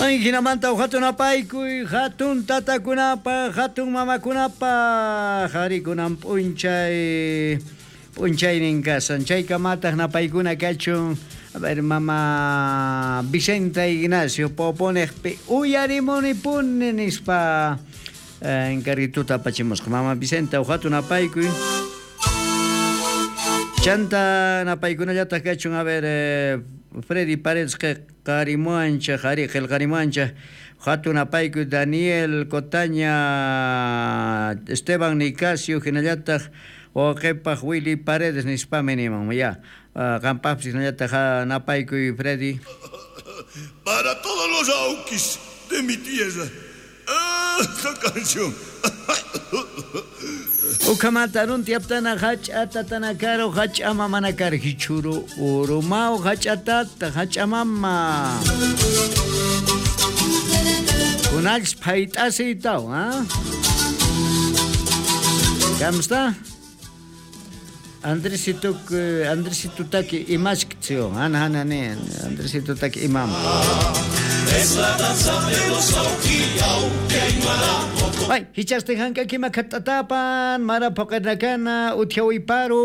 Ay, hinamanta hatun apaykuy, hatun tatakunapaq, hatun mamakunapaq, harikunan p'unchay p'unchaynin kasan. Chaykamataq napaykuna kachun. A ver, mama Vicente Ignacio Poponeqpi uyarimunipuni nispa encarguituta apachimusqa. Mama Vicente, hatun apaykuy. Chanta napaykunallataq kachun, a ver, Freddy Paredes qarimuancha, qari qillqarimuancha, hatun apaykuy Daniel Cotaña, Esteban Nicasio, hinallataq wawqipaq Willy Paredes nispami niman. Ya, qampaqpis hinallataq napaykuy Freddy. Para todos los aukis de mi tierra. Esta canción. Ukhamanta runtiaptana hach'ata tanakaro hach'ama manakar hichuru urumao hach'atata hach'amama. Kunach phayt'asiytaw, ha? ¿Cómo Andresito Andresito taki imashktsio, ana ana ne, Andresito taki imam. Es la danza de los Ay, hichaste hanka kima katatapan, mara poqernakana, uthiawiparu.